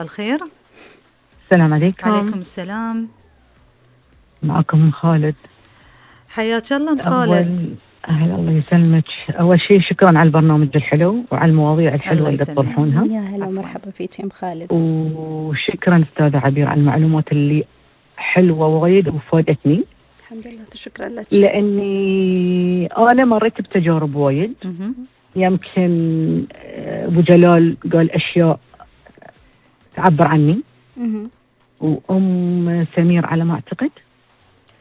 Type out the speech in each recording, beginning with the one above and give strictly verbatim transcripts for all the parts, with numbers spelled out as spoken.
الخير. السلام عليكم. عليكم السلام. معكم من خالد. حياك الله من خالد. أهلا، الله يسلمك. أول شيء شكرا على البرنامج الحلو وعلى المواضيع الحلوة اللي تطرحونها. يا هلا ومرحبا فيك يا أم خالد. وشكرا أستاذة عبير على المعلومات اللي حلوة وايد وفادتني. الحمد لله، شكرا لك. لأني أنا مريت بتجارب وايد. يمكن أبو جلال قال أشياء تعبر عني. وأم سمير على ما أعتقد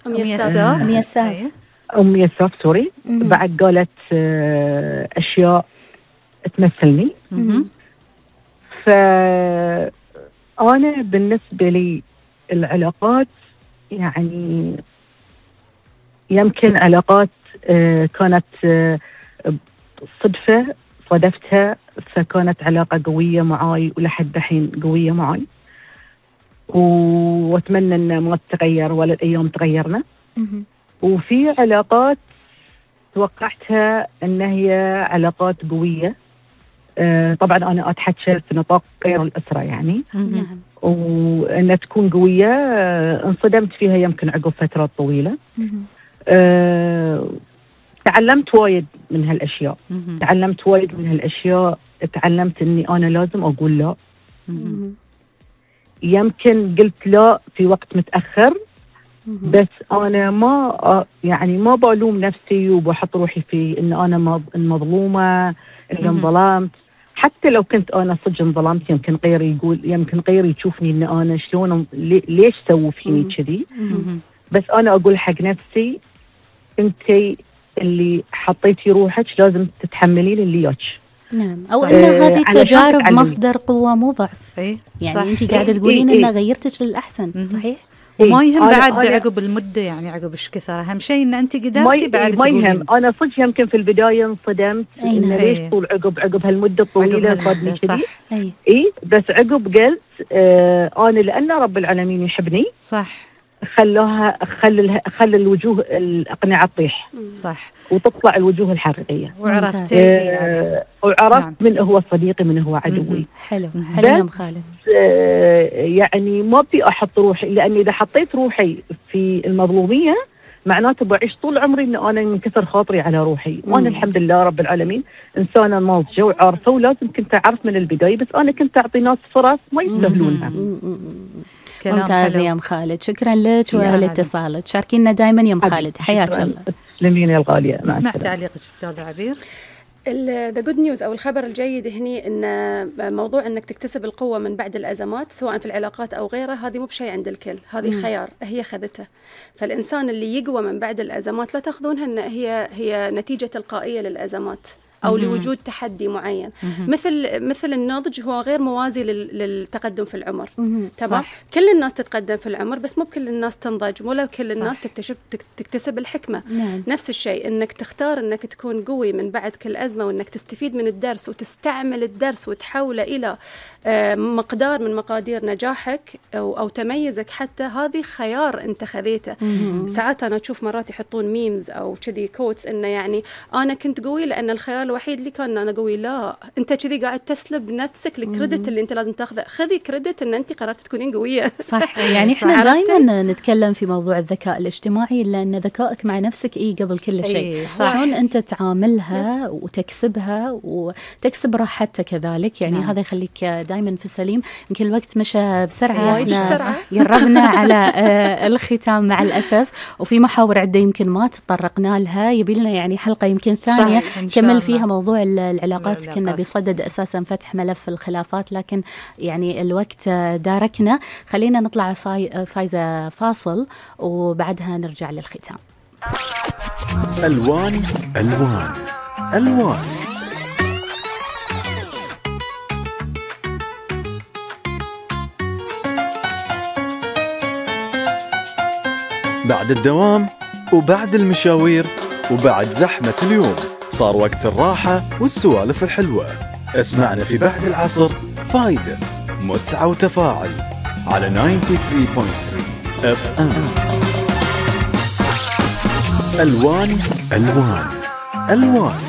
أم يساف أم يساف أم يساف سوري بعد قالت أشياء تمثلني. فأنا بالنسبة لي العلاقات يعني يمكن علاقات كانت صدفة صادفتها، فكانت علاقة قوية معاي ولحد الحين قوية معاي، واتمنى ان ما تتغير ولا الايام تغيرنا. وفي علاقات توقعتها ان هي علاقات قويه، آه طبعا انا اتحكى في نطاق غير الاسره يعني، وانها تكون قويه آه انصدمت فيها يمكن عقب فترات طويله. آه تعلمت وايد من هالاشياء، تعلمت وايد من هالاشياء تعلمت اني انا لازم اقول لا. يمكن قلت لا في وقت متأخر، بس أنا ما يعني ما بلوم نفسي وبحط روحي في إن أنا المظلومة إن انظلمت. حتى لو كنت أنا صدق انظلمت يمكن غيري يقول، يمكن غيري يشوفني إن أنا شلون ليش سووا فيني كذي، بس أنا أقول حق نفسي أنتي اللي حطيتي روحك لازم تتحملين اللي ياك. نعم، أو أن هذه التجارب مصدر قوة مو ضعف. إيه؟ يعني أنت قاعدة تقولين إيه؟ إن غيرتك للأحسن. إيه؟ صحيح. وما يهم بعد عقب المدة يعني عقب إيش كثر، أهم شيء إن أنت قدرتي بعد ما يهم. أنا صدق يمكن في البداية انصدمت إن ليش طول عقب عقب هالمدة الطويلة صادني كذي. أي. إيه بس عقب قلت آه أنا لأن رب العالمين يحبني صح، خلوها خل خل الوجوه الأقنعة تطيح صح وتطلع الوجوه الحقيقية. وعرفت آه وعرفت نعم. من هو صديقي من هو عدوي. حلو حلو يا أم خالد. آه يعني ما بدي أحط روحي، لأني إذا حطيت روحي في المظلومية معناته بعيش طول عمري إن أنا منكسر خاطري على روحي. مم. وأنا الحمد لله رب العالمين إنسانة ناضجة وعارفة، ولازم كنت أعرف من البداية، بس أنا كنت أعطي ناس فرص ما يستاهلونها. ممتازة يا أم خالد، شكرا لك ولاتصالك. شاركينا دائما يا أم خالد. حياك الله. تسلمين يا الغالية. اسمع تعليقك أستاذة عبير. ذا جود نيوز أو الخبر الجيد هني إن موضوع إنك تكتسب القوة من بعد الأزمات سواء في العلاقات أو غيرها، هذه مو بشيء عند الكل، هذه خيار هي خذته. فالإنسان اللي يقوى من بعد الأزمات لا تأخذونها إن هي هي نتيجة تلقائية للأزمات أو مم. لوجود تحدي معين. مم. مثل مثل النضج هو غير موازي للتقدم في العمر. تمام. كل الناس تتقدم في العمر بس مو كل الناس تنضج، مو كل الناس صح. تكتشف تكتسب الحكمة. نعم. نفس الشيء انك تختار انك تكون قوي من بعد كل أزمة، وانك تستفيد من الدرس وتستعمل الدرس وتحوله إلى مقدار من مقادير نجاحك أو, أو تميزك. حتى هذه خيار انت خذيته. ساعات أنا أشوف مرات يحطون ميمز أو كذي كوتس إنه يعني أنا كنت قوي لأن الخيار الوحيد اللي كان أنا قوي. لا، أنت كذي قاعد تسلب نفسك الكريدت اللي أنت لازم تاخذه. خذي كريدت إن أنت قررت تكونين قوية. صح. يعني إحنا دائما نتكلم في موضوع الذكاء الاجتماعي، لأن ذكائك مع نفسك إيه قبل كل شيء. إيه شلون أنت تعاملها يس. وتكسبها وتكسب راحتك كذلك. يعني نعم. هذا يخليك دائما في السليم. يمكن الوقت مشى بسرعة، إحنا قربنا على الختام مع الأسف، وفي محاور عدة يمكن ما تطرقنا لها، يبيلنا يعني حلقة يمكن ثانية كمل فيها موضوع العلاقات. كنا بصدد أساسا فتح ملف الخلافات، لكن يعني الوقت داركنا. خلينا نطلع فاي فايزة فاصل وبعدها نرجع للختام. ألوان ألوان ألوان. بعد الدوام وبعد المشاوير وبعد زحمة اليوم صار وقت الراحة والسوالف الحلوة. اسمعنا في بعد العصر فايدة، متعة وتفاعل على تسعة وثمانين فاصلة ثلاثة اف ام. ألوان ألوان ألوان.